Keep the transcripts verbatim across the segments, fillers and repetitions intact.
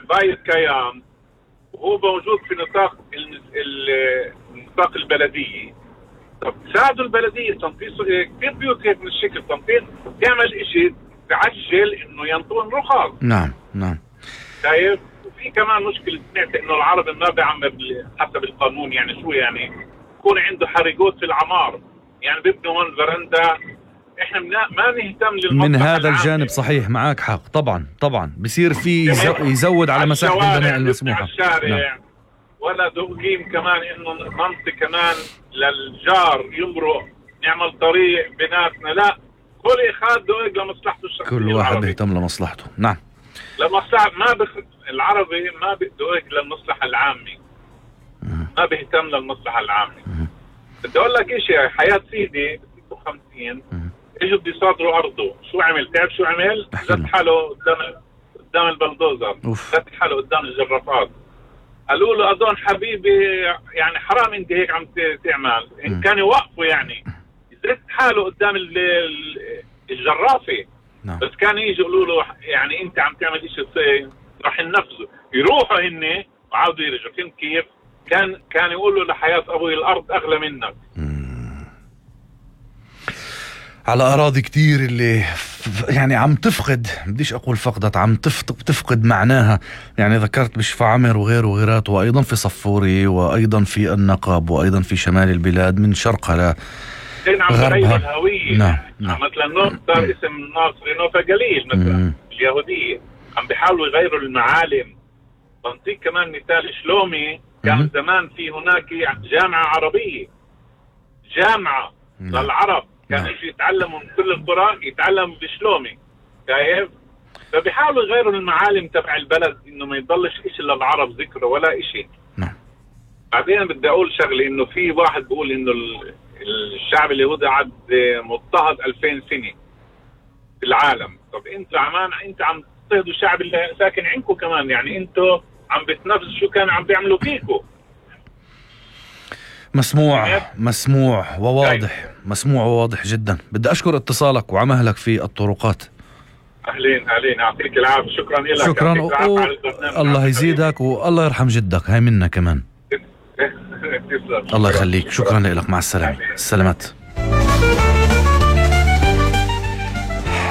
بايت كيان وهو موجود في نطاق النطاق البلدية. طب ساعدوا البلدية تنفيذ كثير بيوت هيك من الشكل، تنفيذ تعمل إشي تعجل إنه ينطون رخص. نعم نعم. شايف؟ وفي كمان مشكلة سمعت إنه العربي ما بيعمل حسب القانون، يعني شو يعني؟ يكون عنده حريقات في العمار، يعني بيبنوا هون فرندا. إحنا ما نهتم للمصلحة من هذا العامة. الجانب صحيح معك حق طبعا طبعا. بصير في يزود على مساحة البناء المسموحة. نعم. ولا دوقيم كمان إنه منطقة كمان للجار يمرق نعمل طريق بيناتنا، لا كل إخاد دوق لمصلحته الشخصية. كل واحد بيهتم لمصلحته. نعم. لمصلحة ما بخ... العربي ما بيدوق للمصلحة العامة، ما بيهتم للمصلحة العامة. بدي أقول لك إشي، حياة سيدي ستة وخمسين إجوا بدي يصادروا أرضه، شو عمل؟ تعرف شو عمل؟ زت حاله قدام قدام البلدوزر، زت حاله قدام الجرافات. قالوا له أظن حبيبي يعني حرام انت هيك عم تعمل. إن كان يوقفوا يعني يزت حاله قدام الجرافة. نعم. بس كان يجي يقولوا له يعني انت عم تعمل اشي راح ينفذوا، يروحوا هن وعاودوا يرجعوا. فهمت كيف؟ كان كان يقولوا لحياة ابوي الارض اغلى منك. مم. على اراضي كتير اللي يعني عم تفقد، بديش اقول فقدت، عم تفقد معناها. يعني ذكرت بشفا عمر وغيره وغيرات، وايضا في صفوري، وايضا في النقب، وايضا في شمال البلاد من شرقها غربها. الهوية. نعم. نعم. مثلا نوفا اسم ناصري نوفا قليل مثلا. مم. اليهودية عم بيحاولوا يغيروا المعالم. بنطيك كمان مثال شلومي، كان مم. زمان في هناك جامعة عربية، جامعة مم. للعرب، كانوا يجي يتعلموا من كل القرى يتعلموا بشلومي. شايف؟ فبيحاولوا يغيروا المعالم تبع البلد انه ما يضلش اشي للعرب ذكره ولا اشي. نعم. بعدين بدي اقول شغله، انه في واحد بيقول انه الشعب اليهودي قعد مضطهد ألفين سنة في العالم. طب انتوا عمان انت عم تضطهدوا الشعب اللي ساكن عندكم كمان، يعني انتوا عم بتنفذوا شو كانوا عم بيعملوا فيكم. مسموع مسموع وواضح، مسموع وواضح جدا. بدي اشكر اتصالك وعملك في الطرقات. اهلين اهلين، يعطيك العافيه. شكرا لك. شكرا و... الله يزيدك والله يرحم جدك، هاي منا كمان. الله يخليك. شكرا لك. مع السلامة. السلامات.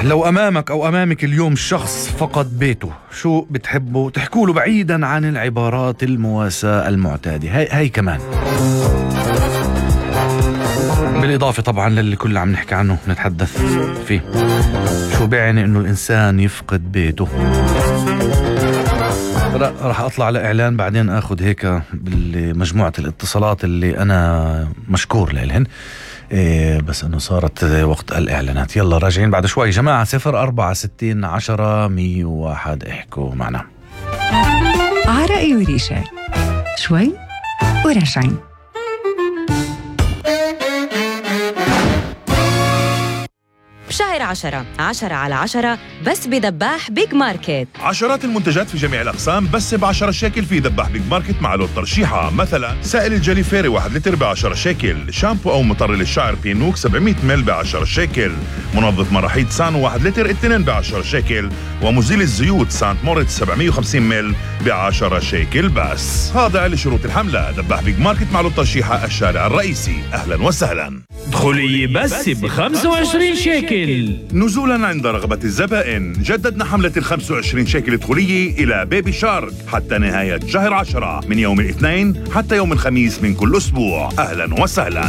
لو أمامك أو أمامك اليوم شخص فقد بيته، شو بتحبوا تحكوا له بعيدا عن العبارات المواساة المعتادة؟ هاي, هاي كمان بالإضافة طبعا للي كل عم نحكي عنه نتحدث فيه. شو بيعني إنه الإنسان يفقد بيته؟ راح أطلع على إعلان، بعدين أخذ هيك بمجموعة الاتصالات اللي أنا مشكور لهن. إيه بس أنه صارت وقت الإعلانات. يلا راجعين بعد شوي جماعة. صفر أربعة ستين عشرة مية وواحد احكوا معنا. عرائي وريشة شوي وراجعين. بشهر عشرة عشرة على عشرة بس بدباح بيج ماركت. عشرات المنتجات في جميع الأقسام بس بعشرة شيكل في دباح بيج ماركت مع لون ترشيحة. مثلا سائل الجلي فيري واحد لتر بعشرة شيكل، شامبو أو مطر للشعر بينوك سبعمية مل بعشرة شيكل، منظف مراحيض سانو واحد لتر اثنين بعشرة شيكل، ومزيل الزيوت سانت موريتس سبعمية وخمسين مل بعشرة شيكل بس. هذا لشروط الحملة. دباح بيج ماركت مع لون ترشيحة الشارع الرئيسي. أهلا وسهلا. دخولي بس ب خمسة وعشرين شيكل. نزولا عند رغبة الزبائن، جددنا حملة ال خمسة وعشرين شيكل دخولية إلى بيبي شارك حتى نهاية شهر عشرة، من يوم الاثنين حتى يوم الخميس من كل أسبوع. أهلا وسهلا.